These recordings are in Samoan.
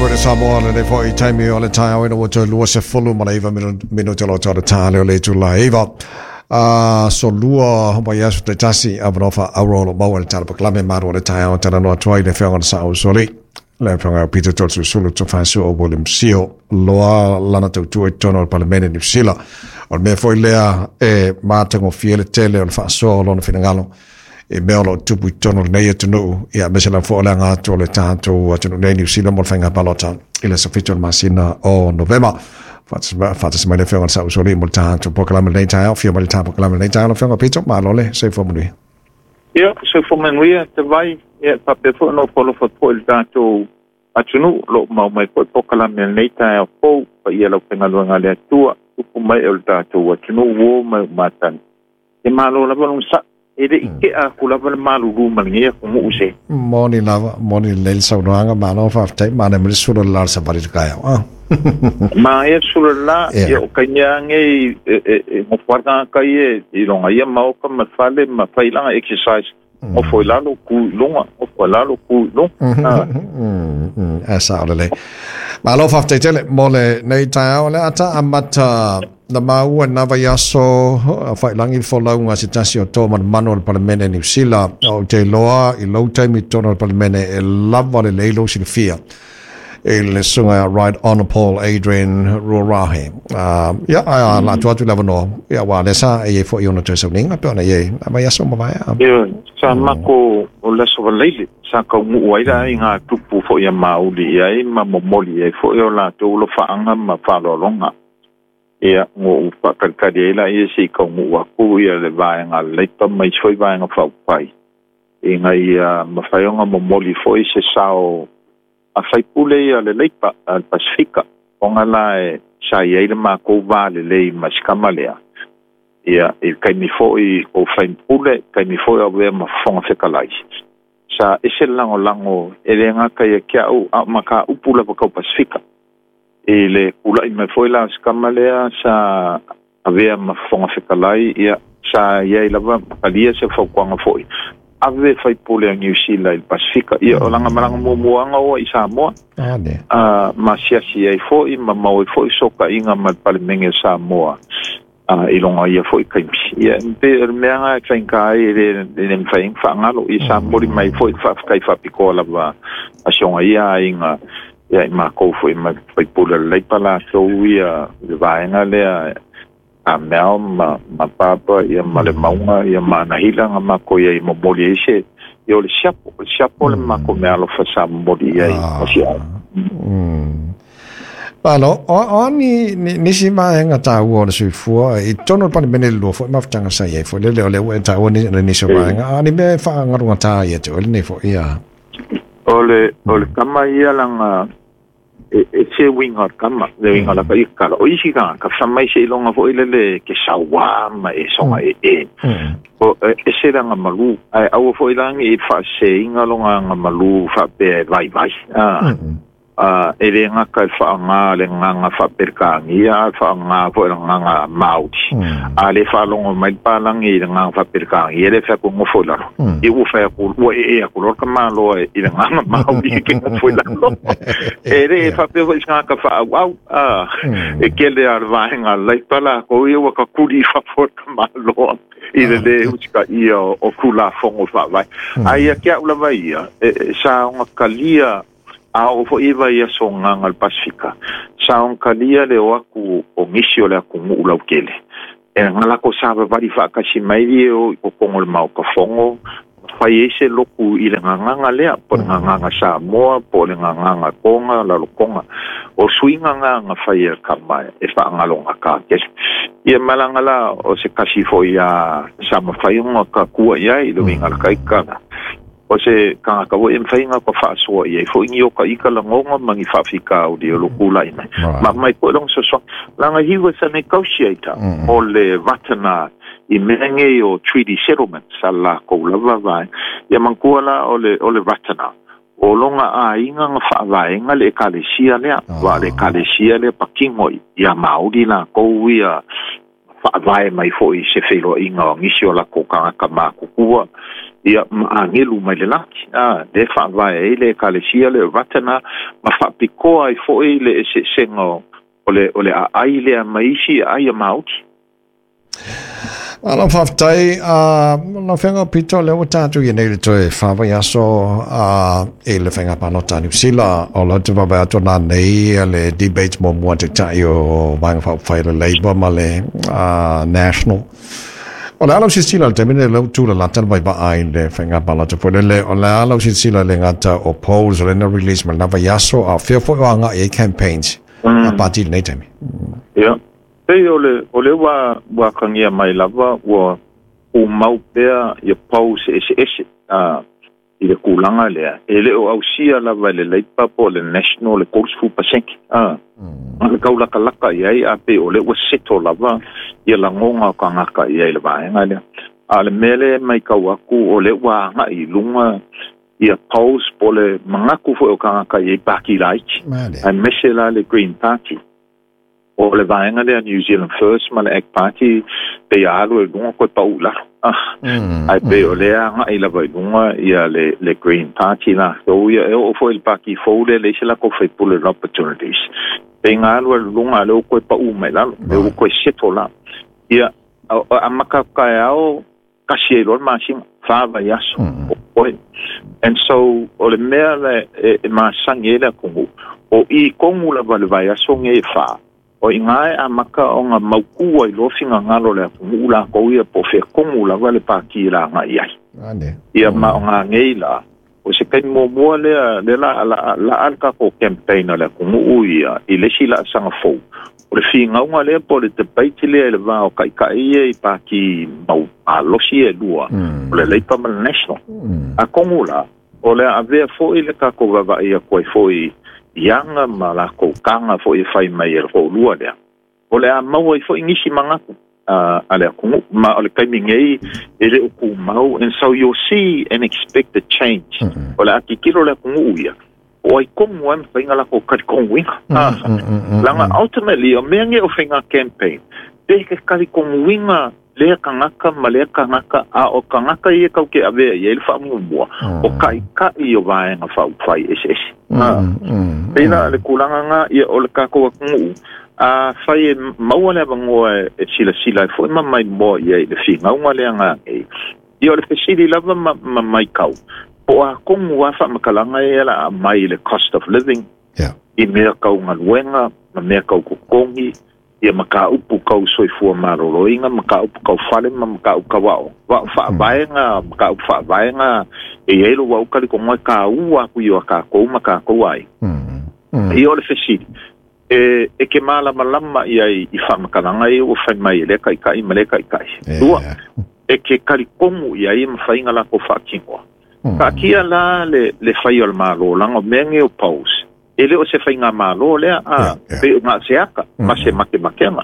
Radio Samoa lenei foi taimi o le taeao ina ua toe 29 minute o lo tau le tā leo le itula e 9. Aso lua o vaiaso taitasi avanoa faaauuro o lo o maua i le Tala Polokalame Malu o le Taeao talanoa atu ai le Afioga i le Sao Usoalii, le Afioga ia Peter Toeolesulusulu Tofaeosoa William Sio loa lana tautua i totonu o le Palemene Niu Sila. O le mea foi lea e matagofie le tele o le faasoa o lona finagalo i mea o lo o tupu i totonu o lenei atunuu, ia aemaise lava foi o le aga atu o le tatou atunuu nei Niu Sila mo le faiga palota i le aso 7 o le masina o Novema. Faatasi mai le Afioga i le Sao Usoalii mo le tatou polokalame lenei taeao. Afio mai le tatou polokalame lenei taeao, lau Afioga Peter, malo le soifua manuia. Ia, soifua manuia te vai, ia faapea foi ona ofo alofa atu foi i le tatou atunuu o lo o mau mai foi polokalame o lenei taeao fou, paia lau faigaluega a le Atua, tupu mai o le tatou atunuu uo mai o matagi. E malo lava lona saʻi, e le i tea aku lava le malulu ma lenei atunuu se. Moni lava, moni lelei le saunoaga, malo faafetai, manaia mai le sula le la o le savali i le taeao. Ah. Manaia le sula le la, ia o taimi lava nei e nofo ai le tagata ia i lona ia maota ma le fale ma fai lana exercise, nofo i lalo, tu i luga, nofo i lalo, tu i luga. Ah. Sao lelei. Malo faafetai tele mo lenei taeao. O le a ta amata na maua i lena vaiaso failangi le folauga a se tasi o toa manumanu o le Palemene Niu Sila. Ou te iloa i lou taimi i totonu o le Palemene e lava lelei lou silafia i le susuga ia Right Honourable Adrian Rurawhe. Ia, ae la atu atu le avanoa, ia, aua lea sa e i ai foi ona toe sauniga pei ona i ai i vaiaso ua mavae. Ioe, sa mako o le Aso Faraile sa taunuu ai le aiga tupu foi a Mauli i ai ma momoli i ai foi o latou alofaaga ma faaaloaloga. Ia, ua ou faatalitali ai laia se i taunuu atu ia le vaega a le Leipa ma isi foi vaega faaupufai ina ia mafai ona momoli foi se sao a faipule ia le Leipa a le Pasefika, ona la e sa i ai le matou va lelei ma si tama lea, ia, i le taimi foi o faipule, taimi foi o avea ma Fofoga Fetalai, sa ese le lagolago e le gata ia te au a o mataupu lava tau Pasefika. I le tula'i mai foi la o si tama lea sa avea ma Fofoga Fetalai, ia, sa i ai lava ma talia se fautuaga foi, ave faipule a Niu Sila i le Pasefika. Ia, o lana malaga muamuaga oa i Samoa, a, ma asiasi ai foi ma maua ai foi fesootaiga ma le Palemene o Samoa, a, i lona ia foi taimi. Ia, e pei o le mea lena e faigata ai e le, e le mafai ai ona faagalo. Ia, sa momoli mai foi le faafetai faapitoa lava a si ona ia aiga ia i makou foi ma faipule o le Leipa latou ia i le vaega lea a Mel ma, ma Papa ia ma le Mauga ia ma Anahila na makou i ai momoli ai se ia o le siapo, o le siapo le makou meaalofa sa momoli i ai o si ai. Malo, o a ni, ni, nisi vaega taua o le soifua i totonu o le Palemene le lua foi mafutaga sa i ai foi lele o lea ua e taua ni, le nisi o vaega, a o ni mea e faagalugata ia te oe lenei foi ia. O le tama ia lana e se uiga o le tama, le uiga o la ka ia kala. O isi tagata, fai mai seiloga foi lele ke sauā ma e soga e e. O e ese le agamalu, ae aua foi la ne i faaseseina lona agamalu faapea e vaivai. E le gata i le faaaoga o le agaga faa-Peretania, a o le faaaoga foi o le agaga Māori. A le faalogo mai le palagi i le agaga faa-Peretania, lea e fai atu e nofo i lalo. Ia ua fai atu, ua ee atu loa le tamaloa i le agaga Māori e ke nofo i lalo. E le faapea foi i se tagata faaauau, e tele lava o le vaega a le Leipa latou ia ua tatuli i fafo e le tamaloa i le lē usitaia o Tulafono Faavae. Ae ia te au lava ia, sa ona talia A oo foi i vaiaso gaga o le Pasefika, sa ogatalia le o atu o nisi o le atunuu lautele, e na latou savavali faatasi mai e o i totonu o le Maota Fono, fai ai se lotu i le gagaga lea, po o le gagaga Samoa, po o le gagaga Toga, Lalotoga. O suiga na na fai e le tama e faagalogata tele. Ia malaga la o se tasi foi a sa mafai ona tatua i ai i le uiga o le taitala. O se tagata foi e mafai ona faasoa i ai foi ni oka ika lagona ma ni faafitauli o lo tulai mai. Ma aumai foi lona fesoasoani. Leaga he was a negotiator o le Ratana i mea nei o treaty settlements a lakou lava vaega. Ia manatua la o le o le Ratana, o lona aiga na faavaega le Ekalesia lea, aua o le Ekalesia lea patino ia Maori lakou ia. Faavae mai foi se feiloaiga o nisi o lakou tagata matutua ia ma agelu mai le lagi a le faavae ai le ekalesia le o Ratana ma faapitoa ai foi le eseesega o le aai lea ma isi aai a maoti. Malo faafetai lau Afioga Pita, o lea ua tatou i nei le toe 4 vaiaso i le faiga palota a Niu Sila. O lau te vaavaai atu na nei le debate muamua taitai o Vaega Faaupufai le Labour ma le National. O le a lau silasila le taimi nei lau tulalata le vaivaa i le faiga palota foi lele? O le a lau silasila le gata o polls o le na release ma lena vaiaso, a o fea foi o agai ai campaigns a pati i lenei taimi? Ia. Pei o le ua kagia mai lava ua umau pea ia polls eseese i le kulaga lea e le o ausia lava e le Labour po o le National le 30% a le kaulakalaka i ai a pe o le ua seto lava ia lagoga o tagata i ai le vaega lea. A le mea lea mai kau aku o le ua agai i luga ia polls po le manatu foi o tagata i ai paki laiti aemaise la le Green Party o le vaega lea New Zealand First ma le ACT Party pe ia alu e luga koe pau i lalo. Ai pe o lea agai lava i luga ia le Green Party latou ia e oo foi le paki fou lea le isi lakou faipule Opportunities pe nga alu e luga le o koe pau mai lalo le o koe seto la ia a maka kaeao kasi ai loa le masina 4 vaiaso o oe. And so o le mea le e masagi ai le atunuu o i kogu lava le vaiaso ge e 4 o i gā e amaka ona maukua i loa figagalo le atunuu lakou ia po o feakogu lava le paki lagai ai ia ma o gagei la o se kaimi muamua lea le la la la le tatou campaign a le atunuu ia i le isi laasaga fou o le figauga lea po o le debate lea i le va o taitai ia i paki mau malosi e lua o le Labour ma le National. Atonu la o le avea foi le tatou vaavaai atu ai foi i aga ma lakou taga foi e fai mai e le toalua lea o le a maua ai foi nisi manatu a le atunuu ma o le taimi nei e le o tumau. And so you'll see an expected change o le a tilotilo le atunuu ia o ai komu ai mafaiga lakou talitonuina laga ultimately o mea ge o faiga campaign pe ke talitonuina lea tagata ma lea tagata a o tagata ia kau ke avea i ai le faamuamua o taitai o vaega faaupufai eseese. Pei la le tulaga ga ia o le tatou atunuu a fai e maua le avanoa e silasila ai foi ma maimoa i ai le figauga lea gagei ia o le fesili lava ma maitau po o atonu a faamatalaga ia la a mai i le cost of living i mea kau galuega ma mea kau totogi ia mataupu kau soifua malōlōina, mataupu kau fale ma mataupu kau aʻo wa faavaega mataupu faavaega e iai lo uau talitonuga e kāua aku i o kākou ma kākou ai. Ia o le fesili e ke malamalama ia i faamatalaga ia ua fai mai e lea taitai ma lea taitai lua e ke talitonu ia i mafaiga lakou faatinoa taatia la le fai o le mālō laga o mea ge o polls e le o se faiga mālō lea a pe o ga se aka ma se makemakega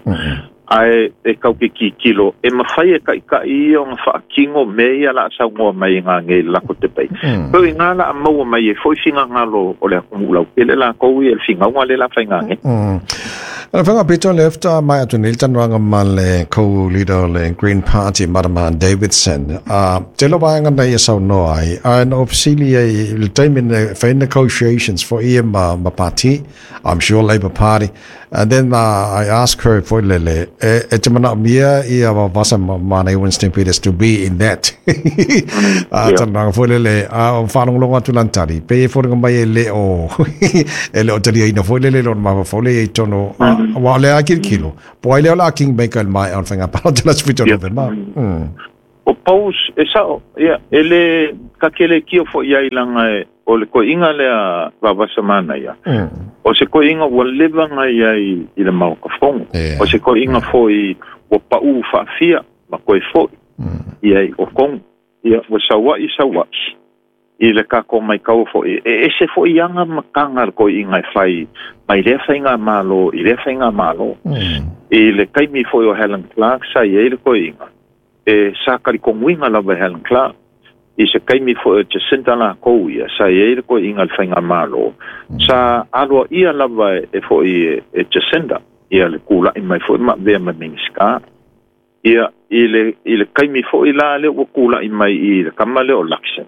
ae e kau ke kikilo e mafai e taitai ia ona faatino mea ia la saunoa mai i gagei le lako te pei pe i ngā la a maua mai e foi figagalo o le atunuu lautele lakou ia le figauga le la faigagei. Ana whanga pito left mai atu nei talanoaga ma le co-leader o le Green Party, Madama Davidson. Te lo vaega na ia saunoa ai. A na ofisili ai le taimi ne whai negotiations for ia ma party, I'm sure Labour Party. And then I asked her for lele, e te mana mia ia wa vasa ma nei Winston Peters to be in that. Talanoaga foi lele, a o whalongalonga atu lan tari. Pe e fōringa mai e le o talia ina foi lele lona mafa fole e tono, wa le a kilo. Po ai leo la kingmaker mai on whainga palo te la swito November. O polls e sao ia e le kakele kio fo ia ilanga e o le koiga lea vavasamana ia o se koiga ua leva ia i le maokafogo o se koiga foi ua paʻu faafia ma koe foʻi ia i okogu ia ua sauaʻi sauaʻi i le kako mai kau foʻi e ese foʻi aga ma kaga le koiga e fai mai lea faiga mālō i lea faiga mālō i le taimi foi o Helen Clark sa i ai le koiga e sa talitonuina lava e Helen Clark i se kaimi foi o Jacinda lakou ia sa i ai le koiga le faiga mālō sa aloaʻia lava e foi e Jacinda ia le kulaʻi mai foi ma avea ma Minisita. Ia i le kaimi fo'i la lea ua kula'i mai i le kama lea o Luxon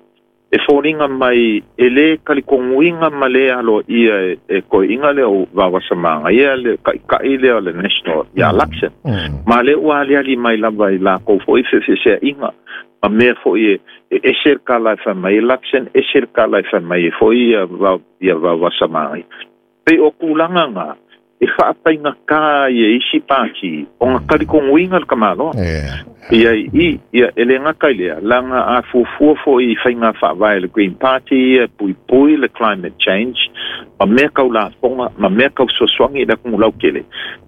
e foliga mai e lē talitonuina ma lē aloaia e toeaiina lea o Vaovasamagaia le taʻitaʻi lea o le National iā Luxon ma lea ua aliali mai lava i lakou fo'i feʻefeʻeseaʻiga ma mea fo'i e ese le tala e fai mai e Luxon ese le tala e fai mai e fo'i ia Vaovasamagaia pei o tulaga gā e faafaigata ai e isi pātī ona talitonuina le tamaloa. Ia i ia e le gata i lea laga a fuafua fo'i i faiga faavae le Green Party ia e puipui le climate change ma mea tau lafoga ma mea tau fesoasoani i le atunuu lautele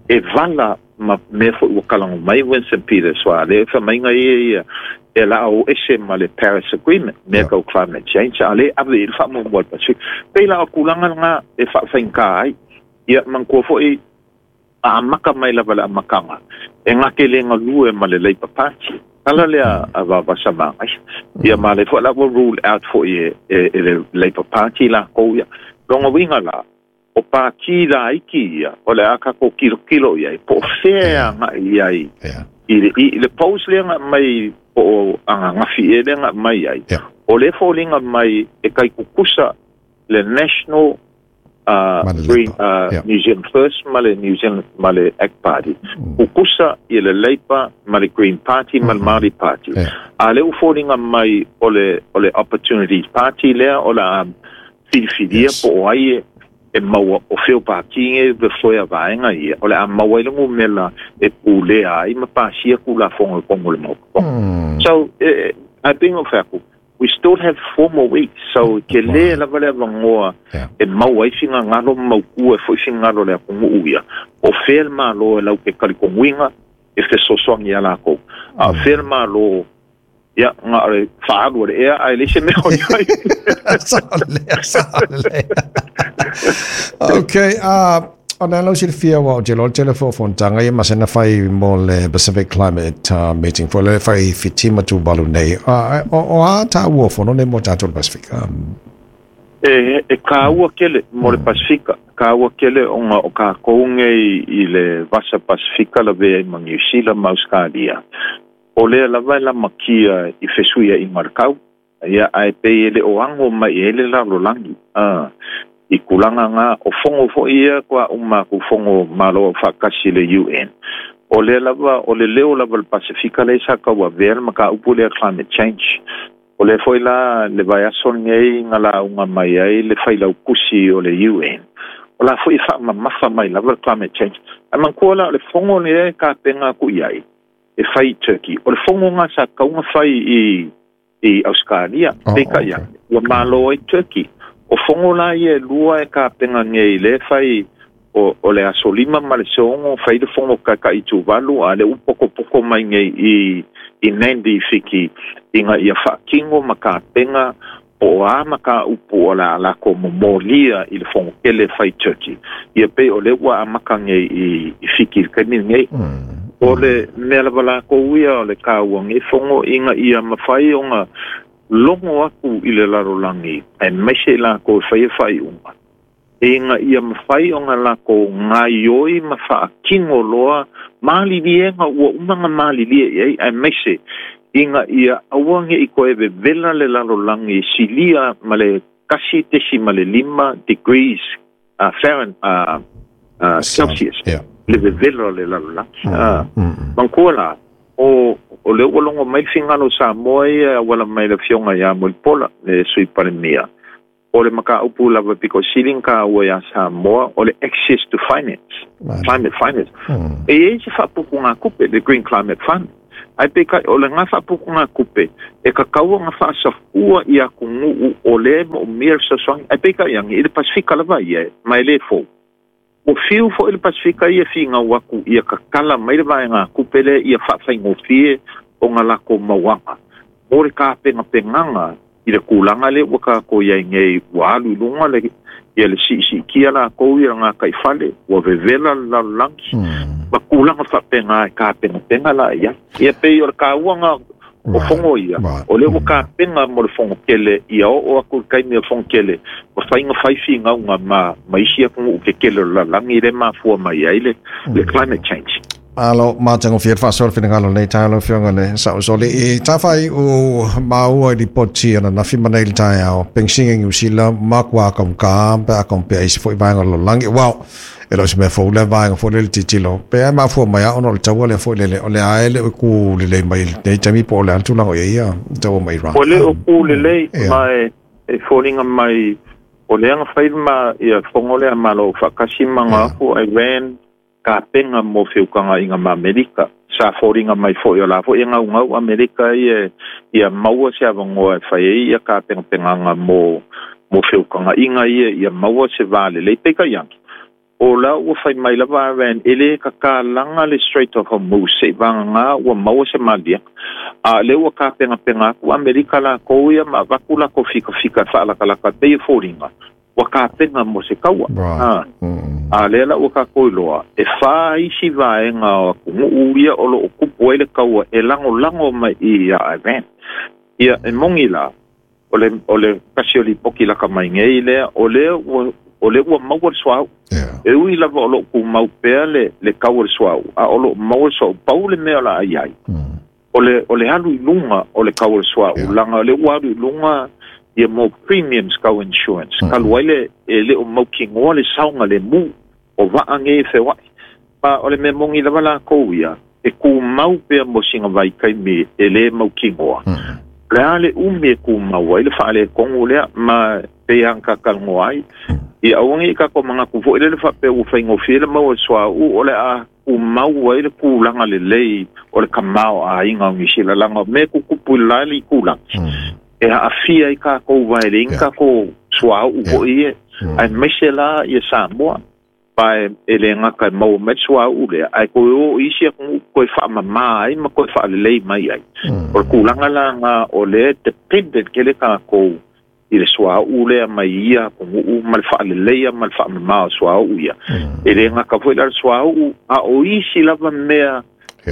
e vala ma mea fo'i ua kalago mai Winston Peters ua lea faamaiga ia ia e la o ese ma le Paris Agreement mea tau climate change a le ave i le faamuamua le Pacific pei la o tulaga lena e faafaigata ai. Ia manatua fo'i a amata mai lava le amataga e gate le galue ma le Labour Party tala lea a Vaovasamagaia ia ma le fo'i la ua rule out fo'i e le Labour Party lakou ia lona uiga la o pātī laiti ia o le a tatou tilotilo i ai po o fea e agaʻi i ai i le polls lea na aumai po o ananafi ea lea na aumai ai o lea foliga mai e taitutusa le National Green New Zealand First ma le New Zealand ma le Act Party. Tutusa ia le Labour ma le Green Party ma le Māori Party. A lea ua foliga mai o le Opportunities Party lea o le a filifilia po o ai e maua o fea o pātī nei le foe a vaega ia o le a maua ai le numera e pulea ai ma pasia Tulafono i totonu o le Maota. So, ae pei ona ou fai atu, we still have 4 more weeks, so ke lē lava le avanoa e maua ai finagalo ma mautū ai fo'i finagalo o le atunuu ia o fea le Malo e lau te talitonuina e fesoasoani iā lakou a o fea le Malo ia na o le faaalu o le ea ae leai se mea o i ai. Saolea. Okay, o le lau silafia ua o te loa tele fo fonotaga ia masina fai mo le Pacific Climate Meeting fo le fai Fiti ma Tuvalu nei. O a tāua fono nei mo tātou le Pasifika? E kāua kele mo le Pasifika. Kāua kele ona o kākou nei i le Vasa Pasifika lavea ai ma Niu Sila ma Australia. O lea lava e lamakia i fesuiaiga o le kau. Ia, ae pei e le o ago mai i ai le lalolagi, i tulaga na, o fono fo'i ia kua uma aku fono Malo Aufaatasi le UN. O lea lava, o le leo lava o le Pasifika lea sa tauavea le mataupu lea climate change. O lea foi la le vaiaso lenei na lauga mai ai le failautusi o le UN. O la foi e faamamafa mai lava le climate change. Ae manatua la o le fono lea e tapena atu i ai, e fai i Turkey. O le fono na sa tatau ona fai i Australia, peitai ane, ua malo ai Turkey. O fono la ia e lua e tapena nei lea e fai o le aso 5 ma le 6 fai le fono taitaʻi Tuvalu a lea ua potopoto mai nei i Nandi i Fiti ina ia faatino ma tapena po o a mataupu o le a latou momolia i le fono tele e fai i Turkey. Ia pei o lea ua amata nei i Fiti i le taimi lenei. O le mea lava lakou ia o le taua nei fono ina ia mafai ona logo atu i le lalolagi aemaise i lakou e faia faaiuga ina ia mafai ona lakou gaioi ma faatino loa maliliega ua uma ona malilie i ai aemaise ina ia aua neʻi toe vevela le lalolagi silia ma le 1.5 degrees Fahrenheit Celsius le vevela o le lalolagi. Manatua la o lea ua logo mai le finagalo o Samoa ia e auala mai le afioga ia Mulipola le Sui Palemia o le mataupu lava pito sili ona taua iā Samoa o le access to finance, climate finance. E i ai se faapupugatupe, le Green Climate Fund, ae peitai o lena faapupugatupe e tatau ona faasafua i atunuu o lea e moomia le fesoasoani, ae peitai ane i le Pasifika lava ia ma e lē fou. Ua fiu fo'i le Pasifika ia finau atu ia tatala mai le vaegatupe lea ia faafaigofie ona latou mauaga mo le tapenapenaga i le tulaga lea ua tatou i ai nei ua alu i luga le ia le siisiitia latou ia gataifale ua vevela le lalolagi ma tulaga faapena e tapenapena la i ai. Ia pei o le taua na o fono ia o lea ua tapena mo le fono tele ia oo atu i le taimi o le fono tele mafai ona fai finauga ma isi atunuu tetele o le lalolagi lea e mafua mai ai le climate change. Alo matagofie le faasoa le finagalo lenei taeao lau Afioga le Saʻosoli. Tafai u maua i lipoti ananafi ma nei le taeao, penisini Niu Sila makuā kaugā pe a compare isi foi vaega o le lalolagi. Uau, e le o se mea fou lea vaega foi lele tilotilo pe a e mafua mai a ona o le taua lea foi lele o le a e le o ku lelei mai i lenei taimi po o le a le tulaga o i ai ia taua ma Iran. Ua le o ku lelei ma e foliga mai o lea na fai ma ia fono lea Malo Afaatasi ma na aku Iran tapenga mo feukagaiga ma Amerika. Sa foliga mai foi o la foi e gaugau Amerika ia ia maua se avanoa e fai ai ia tapenapenaga mo feukagaiga ia ia maua se va lelei. Peitai ane, o la ua fai mai lava Iran e lē tatalaga le Strait of Hormuz seʻi vagagā ua maua se maliega. A o lea ua tapenapena atu Amerika lakou ia ma avatu latou fikafika e faalatalata pei e foliga ua tapena mo se taua. A lea la ua tatou iloa e 4 isi vaega o atunuu ia o loo tupu ai le taua e lagolago mai i ia Iran. Ia e moni la o le kasi o lipoti laka mai nei lea o lea ua maua le suauu. E ui lava o loo tumau pea le tau o le suauu, a o loo maua le suauu, pau le mea o la ai ai o le alu i luga o le tau o le suauu, laga o le ua alu i luga ia mo premiums kau insurance kalu ai le e le o mautinoa le saoga le mu o vaa nei e feoaʻi. Ma o le mea moni lava lakou ia e tumau pea mo sina vaitaimi e lē mautinoa le a le umi e tumau ai le faaletonu lea ma pei aga tatalanoa ai. Ia aua nei tatou manatu foi lele faapea ua faigofie le maua le suauu o le a tumau ai le tulaga lelei o le tamaoaiga o Nisila, laga o mea tutupu i le la le itulagi e aafia ai tatou vaeleiga tatou suauu foi e aemaise la ia Samoa pa e lē gata e maua mai le suauu lea ae toe o isi atunuu toe faamamā ai ma toe faalelei mai ai. O le tulaga laga o lea dependent tele tatou i le suauu lea mai ia atunuu ma le faaleleia ma le faamamā o suauu ia. E lē gata foi la le suauu a o isi lava mea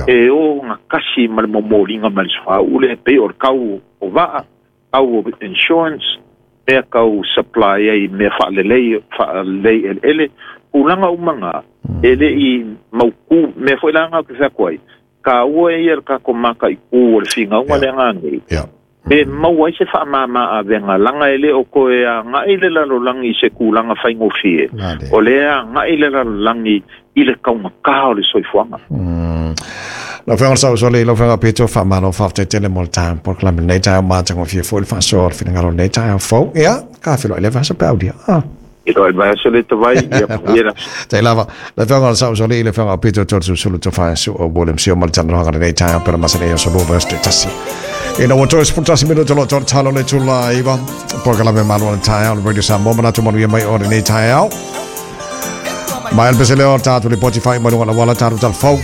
e o gatasi ma le momoliga mai le suauu lea, pei o le tau o vaa, tau o insurance, mea tau supply ai mea faalelei faalelei eleele, tulaga uma ga e le i mautū mea foi laga ke feako ai taua ia le tatou mataitū o le figauga lea ganei pe maua ai se faamāmā avega, laga e lē o toe agaʻi le lalolagi i se tulaga faigofie, o lea agaʻi le lalolagi i le taugatā o le soifuaga. Lau Afioga Saʻosoli, lau Afioga Peto, faamalo faafetai mo le taeao polokalame lenei taeao matagofie foi le faasoa o le finagalo lenei taeao fou. Ia, ka feloai le vaiaso pe aulia. I loa le vaiaso le tavai ia manuia. Tai lava. Lau Afioga Saʻosoli, le Afioga Peto Tolesulusulu Tofaesu'o William Sio ma le talanoaga lenei taeao pela masani o so lua verse tasi. Ina ua toe 11 minute lo tō talo le tula iwa. Polokalame malo le taeao le Radio Samoa manatu manuia mai o lenei taeao. Mai le pese leo tātou lipoti whai mai lunga la wala tātou talfau.